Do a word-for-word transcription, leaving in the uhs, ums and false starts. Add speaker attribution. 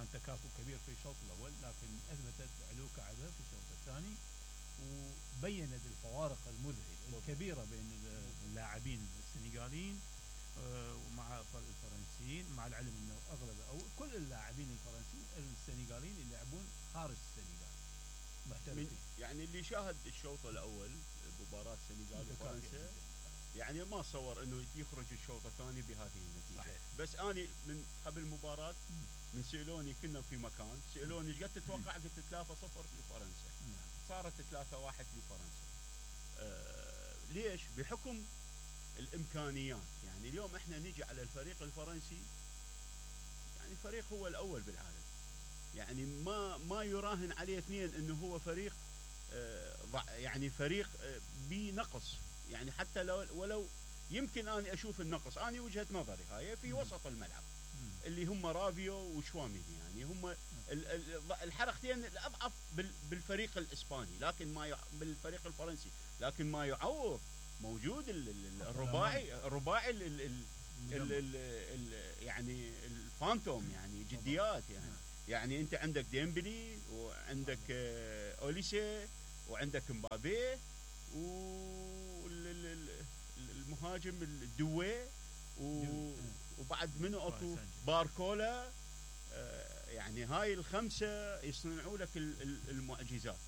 Speaker 1: كان تكافؤ كبير في الشوط الاول، لكن اثبتت علو كعبها في الشوط الثاني، وبينت الفوارق المذهله الكبيره بين اللاعبين السنغاليين ومع الفرنسيين، مع العلم انه اغلب او كل اللاعبين الفرنسيين السنغاليين اللي يلعبون خارج السنغال محترفين.
Speaker 2: يعني اللي شاهد الشوط الاول مباراه السنغال وفرنسا يعني ما صور انه يخرج الشوط الثاني بهذه النتيجه.
Speaker 1: صحيح.
Speaker 2: بس اني من قبل المباراه من سالوني كنا في مكان، سالوني ايش قد تتوقع؟ قلت ثلاثة صفر لفرنسا. صارت ثلاثة واحد لفرنسا. آه ليش؟ بحكم الامكانيات. يعني اليوم احنا نجي على الفريق الفرنسي، يعني فريق هو الاول بالعالم، يعني ما ما يراهن عليه اثنين انه هو فريق آه يعني فريق آه بنقص. يعني حتى لو ولو يمكن اني اشوف النقص، اني وجهه نظري هاي في وسط الملعب اللي هم رافيو وشواميني، يعني هم الحركتين الاضعف بالفريق الاسباني، لكن ما بالفريق الفرنسي، لكن ما يعوض موجود الرباعي الرباعي ال ال ال ال ال يعني الفانتوم، يعني جديات. يعني يعني انت عندك ديمبلي وعندك اوليسي وعندك مبابي والمهاجم الدوي وبعد منه اكو باركولا. يعني هاي الخمسه يصنعوا لك المعجزات.